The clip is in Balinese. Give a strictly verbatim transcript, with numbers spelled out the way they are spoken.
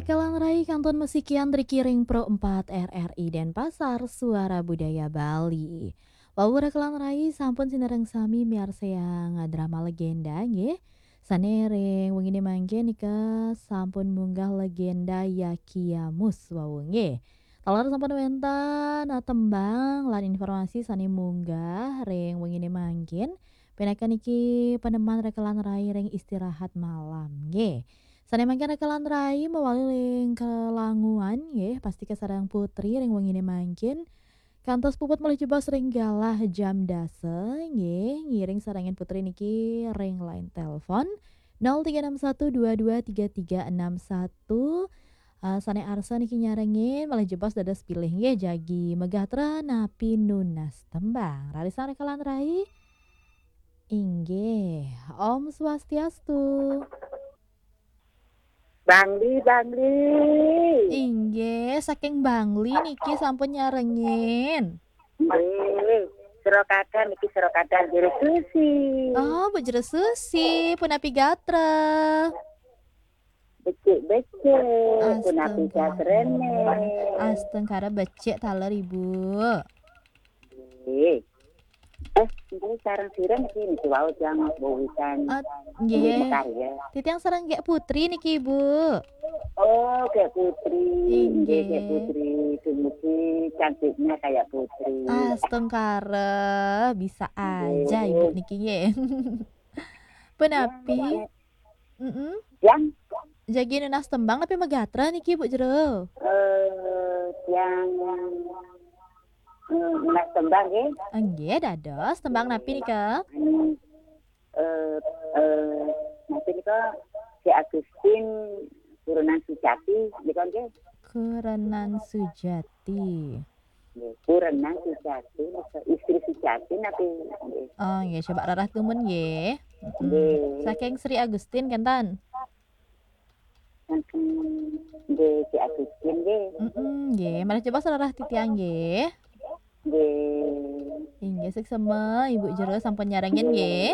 Kalan rai kantun masikian driki ring Pro empat R R I Denpasar, Suara Budaya Bali. Wau rekan rai sampun sinareng sami miarsayang drama legenda nggih. Sane ring wengine mangkin nika sampun munggah legenda Yakiamus wau nggih. Taler sampun wenten, ah, tembang lan informasi sane munggah ring wengine mangkin. Pinaka niki peneman rekan rai ring istirahat malam nggih. Sane mangkin rekan rai mawali ring kelanguan nggih, pasti kasareng Putri ring wengine mangkin. Kantos puput malih jebos ring galah jam dasa nggih, ngiring sarengin Putri niki ring line telepon nol tiga enam satu dua dua tiga tiga enam satu. Ah, sane arsa niki nyarengin malih jebos dados pilih nggih, jagi megahtra napi nunas tembang. Rarisang rekan rai. Inggih, Om Swastiastu. Bangli, Bangli. Inggih, saking Bangli niki sampun nyarengin. Nggih, Sura Kadal niki, Sura Kadal Jero Susi. Oh, Bu Jero Susi, punapi gatra? Becik-becik, punapi gatrane? Astungkara becik taler, Ibu. Nggih. Eh, nggih, sareng sira niki, niki wau tiang wewitan Ah, nggih. Makarya. Titiang sareng Gék Putri niki, Ibu. Oh, Gék Putri. Inggih. Nggih, Gék Putri. Dumugi cantiknya kayak putri. Astungkara, bisa aja Ibu niki nggih. Punapi? Yang, Mm-mm. Yang? Jagi nunas tembang napi megatra niki, Bu Jero? Eh, yang, eh, nunas tembang nggih. Nggih, dados tembang napi nika? Hmm, eh, eh, napi nika? Si Agustin Kurenan Sujati nika nggih. Kurenan Sujati. Nggih, Kurenan Sujati nika, istri Sujati napi nggih? Oh, nggih, coba rarah tumun nggih. Mm-mm. Nggih. Saking Sri Agustin kenten? Saking, nggih, Si Agustin nggih. Mm-mm, nggih, malih jebos rarah titiang nggih. Nggih. Inggih, suksma Ibu Jero sampun nyarengin nggih.